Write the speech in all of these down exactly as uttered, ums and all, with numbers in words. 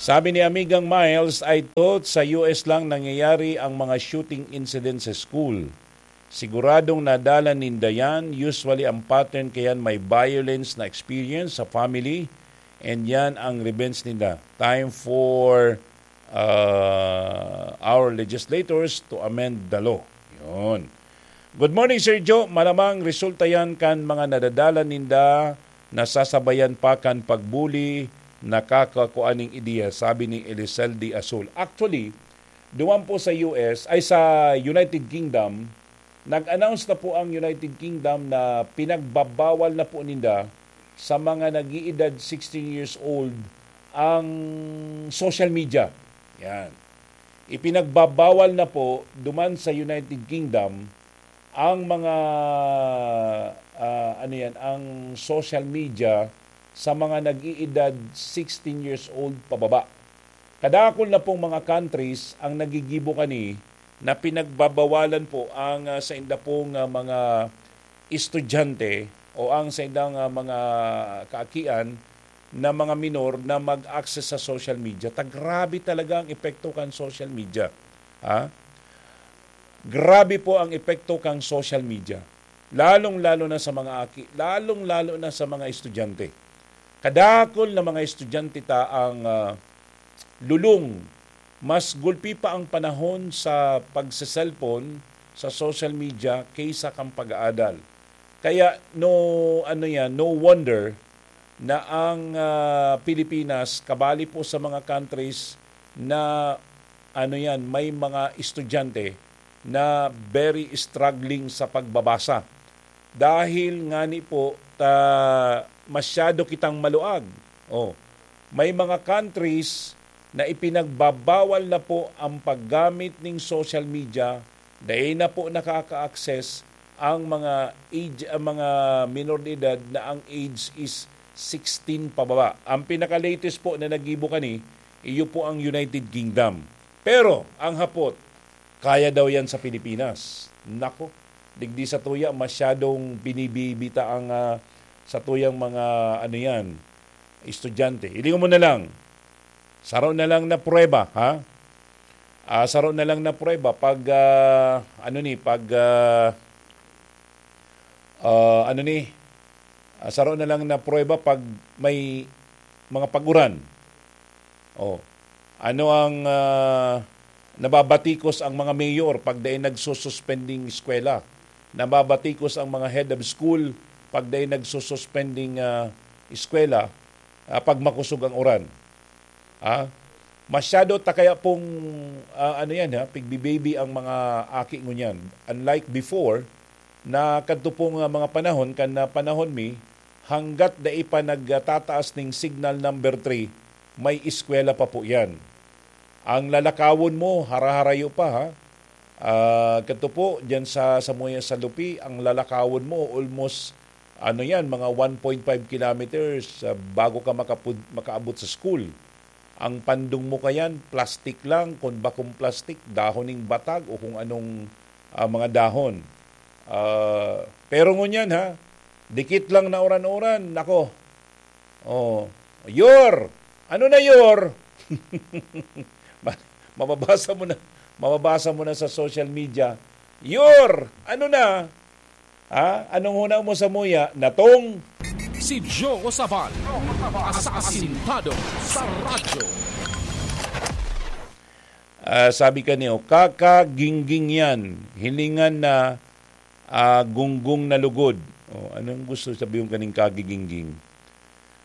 Sabi ni Amigang Miles, "I thought sa U S lang nangyayari ang mga shooting incident sa school. Siguradong nadala ninda yan. Usually ang pattern kayan may violence na experience sa family and yan ang revenge ninda. Time for uh, our legislators to amend the law." Yun. "Good morning, Sir Joe. Malamang resulta yan kan mga nadadala ninda na sasabayan pa kan pagbuli, nakakakuan ning ideya," sabi ni Eliseldi Azul. Actually, duman po sa U S, ay sa United Kingdom, nag-announce na po ang United Kingdom na pinagbabawal na po ninda sa mga nag-iedad sixteen years old ang social media. Yan. Ipinagbabawal na po duman sa United Kingdom ang mga, ah, ano yan, ang social media sa mga nag-iedad sixteen years old pababa. Kadakul na pong mga countries ang nagigibo kani na pinagbabawalan po ang, ah, sainda pong, ah, mga estudyante o ang saindang, ah, mga kaakian na mga minor na mag-access sa social media. Ta grabe talaga ang epekto kan social media. Ha? Grabe po ang epekto kan social media. Lalong-lalo na sa mga aki, lalong-lalo na sa mga estudyante. Kadakul na mga estudyante ta ang, ah, lulong. Mas gulpi pa ang panahon sa pagse-cellphone, sa social media, kaysa kan pag-aadal. Kaya, no, ano yan, no wonder na ang, ah, Pilipinas, kabali po sa mga countries na, ano yan, may mga estudyante na very struggling sa pagbabasa. Dahil ngani po, ta, masyado kitang maluag. Oh, may mga countries na ipinagbabawal na po ang paggamit ning social media, dai na po nakaka-access ang mga age, ang mga minor de edad na ang age is sixteen pababa. Ang pinaka-latest po na nagibo kani, iyo po ang United Kingdom. Pero, ang hapot, kaya daw yan sa Pilipinas. Nako, digdi sa tuya, masyadong binibibita ang, ah, sa tuyang mga, ano yan, estudyante. Hilingon mo na lang. Saro na lang na prueba, ha? Ah, saro na lang na prueba pag, ah, ano ni, pag, ah, ah, ano ni, ah, saro na lang na prueba pag may mga pag-uran. Oh. Ano ang, ah, nababatikos ang mga mayor pag dai nagsususpending eskwela? Nababatikos ang mga head of school pag dai nagsususpending, ah, eskwela, ah, pag makosog ang uran? Ah, masyado ta kaya pong, ah, ano yan, ha, pigbibaby ang mga aki ngunyan. Unlike before, na kadto pong, ah, mga panahon, kan, ah, panahon mi, hanggat dai pa nagtataas ning signal number three, may eskwela pa po yan. Ang lalakawon mo, haraharayo pa, ha? Ah, kadto po, dyan sa, sa Muya sa Lupi, ang lalakawon mo, almost, ano yan, mga one point five kilometers, ah, bago ka makapud-, makaabot sa school. Ang pandong mo kayan, plastik lang, kung bakong plastik, dahon ning batag o kung anong, ah, mga dahon. Ah, pero ngunyan, ha, dikit lang na uran-uran, nako. Oh, "Yor! Ano na, Yor?" Ma-, mababasa mo na, mababasa mo na sa social media, "Yor! Ano na?" Ha? Anong huna mo sa muya? Natong? Si Joe Sabal, asasintado sa radyo. Ah, sabi ka niyo, "Kakagingging yan. Hilingan na, ah, gunggong na lugod." Oh, anong gusto sabihin kaning kagigingging?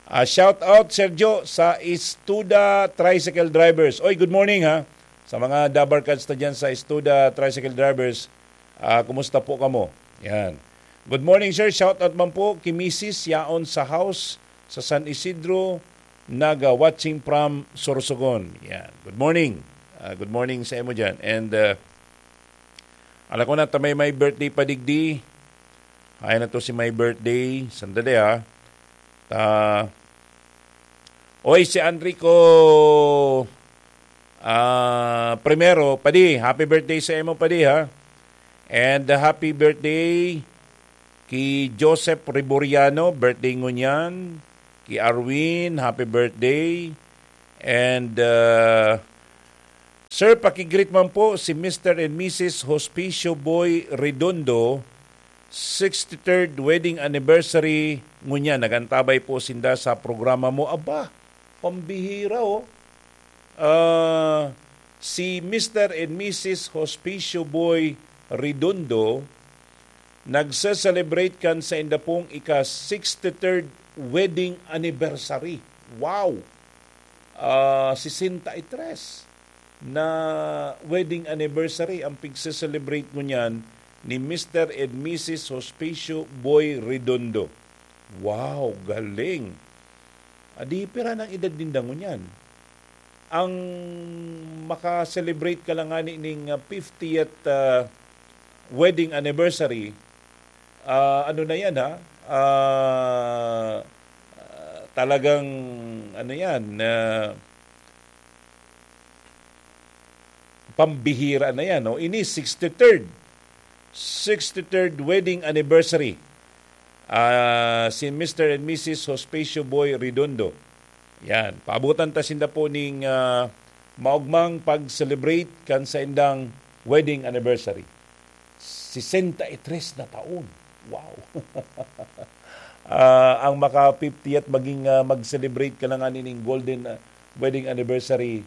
Ah, shout out, Sergio, sa Istuda Tricycle Drivers. Oy, good morning, ha. Sa mga dabarkads na dyan sa Istuda Tricycle Drivers, ah, kumusta po kamo? Yan. "Good morning, sir. Shout out man po ki misis yaon sa house sa San Isidro, Naga, watching from Sorsogon." Yan. Good morning. Ah, good morning sa imo dyan. And, ah, ala ko na, ta may, may birthday pa digdi. Ay na to si my birthday. Sandali, ha. Ta, oy, si Enrico, ah, Primero, padi, happy birthday sa imo, padi, ha. And, uh, happy birthday ki Joseph Riboriano, birthday ngunyan. Ki Arwin, happy birthday. And, uh, sir, pakigreet man po si Mister and Missus Hospicio Boy Redondo, sixty-third wedding anniversary ngunyan. Nagantabay po sinda sa programa mo. Aba, pambihira, oh. Ah, si Mister and Missus Hospicio Boy Redondo nagse-celebrate kan sa inda pong ika-sixty-third wedding anniversary. Wow! Ah, sesenta y tres na wedding anniversary ang pigse-celebrate ngunyan ni Mister and Missus Hospicio Boy Redondo. Wow, galing! Adi, pira nang edad ninda ngunyan? Ang maka-celebrate ka lang ngani ning, ah, fiftieth, ah, wedding anniversary, ah, ano na yan, ha? Ah, ah, talagang, ano yan, ah, pambihira na yan, no? Ini sixty-third, sixty-third wedding anniversary. Ah, si Mister and Missus Hospicio Boy Redondo. Yan, paabutan ta sinda po ning, ah, maogmang pag-celebrate kan saindang wedding anniversary. Sesenta y tres na taon. Wow! Ah, ang maka-fiftieth maging, ah, mag-celebrate ka na nga nining golden, ah, wedding anniversary,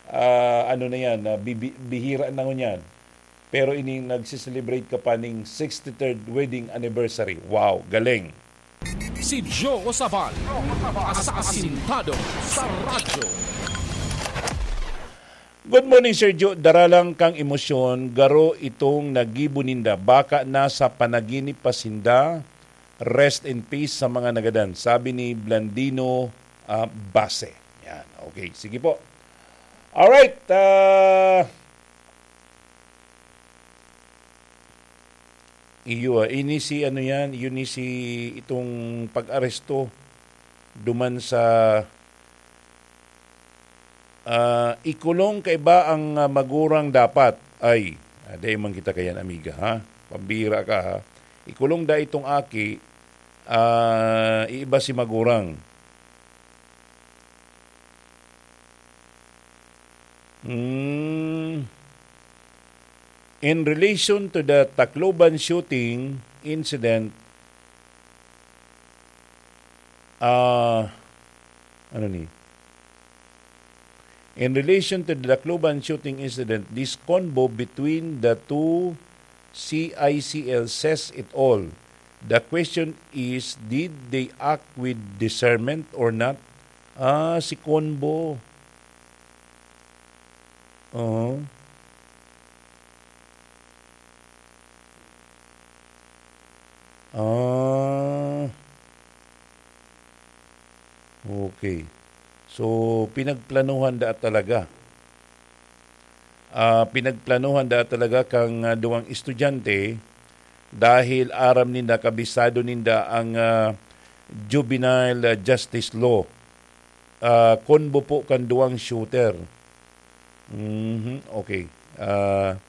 ah, ano na yan, ah, bibi-, bihira na ngunyan. Pero ini nagse-celebrate ka pa ning sixty-third wedding anniversary. Wow, galing! Si Joe Sabal, asasintado sa radyo. Good morning, Sir Joe. Dara lang kang emosyon, garo itong nagibo ninda. Baka nasa panaginip pa sinda. Rest in peace sa mga nagadan, sabi ni Blandino, ah, Base. Yan. Okay, sige po. Alright. Ah, iyo, ah, ini si ano yan, yun ni si itong pag-aresto duman sa, ah, ikulong kaiba ang, ah, magurang dapat. Ay, ah, dai man kita kayan, amiga, ha? Pambira ka, ha? Ikulong da itong aki, ah, iiba si magurang. Hmm. In relation to the Tacloban shooting incident, ah, ano ni? In relation to the Tacloban shooting incident, this convo between the two C I C L says it all. The question is, did they act with discernment or not? Ah, si Convo. Oo. Ah. Okay. So, pinagplanuhan da talaga. Ah, pinagplanuhan da talaga kang, ah, duwang estudyante dahil aram ninda, kabisado ninda ang, ah, juvenile, ah, justice law. Ah, convo po kan duwang shooter. Mhm, okay. Ah,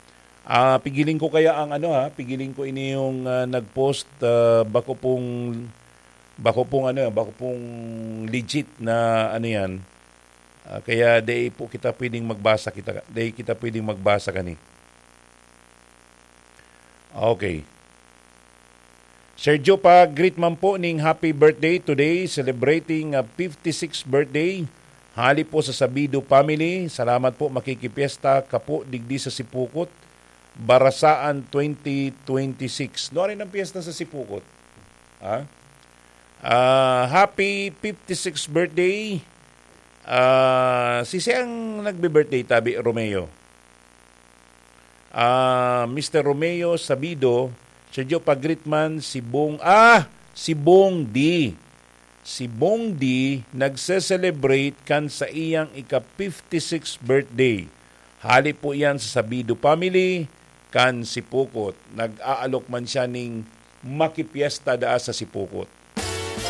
ah, pigiling ko kaya ang ano, ha, pigiling ko ini yung, ah, nag-post, ah, bako pong, bako pong ano, bako pong legit na ano yan. Ah, kaya dai po kita pwedeng magbasa, kita, dai kita pwedeng magbasa kani. Okay. Sergio, pa-greet man po ning happy birthday today, celebrating, ah, fifty-six birthday. Hali po sa Sabido family. Salamat po, makikipyesta ka po digdi sa Sipukot, Barasaan twenty twenty-six. Nuarin ang piyesta sa Sipukot? Ha? Ah, happy fifty-six birthday. Ah, si siyang nagbe-birthday, tabi, Romeo? Ah, Mister Romeo Sabido, Sergio, pa-greet man si Bong, ah, si Bong D. Si Bong D nagse-celebrate kan sa iyang ika-fifty-six birthday. Hali po iyan sa Sabido family, kan Sipukot. Nag-aalok man siya ning makipyesta daa sa Sipukot.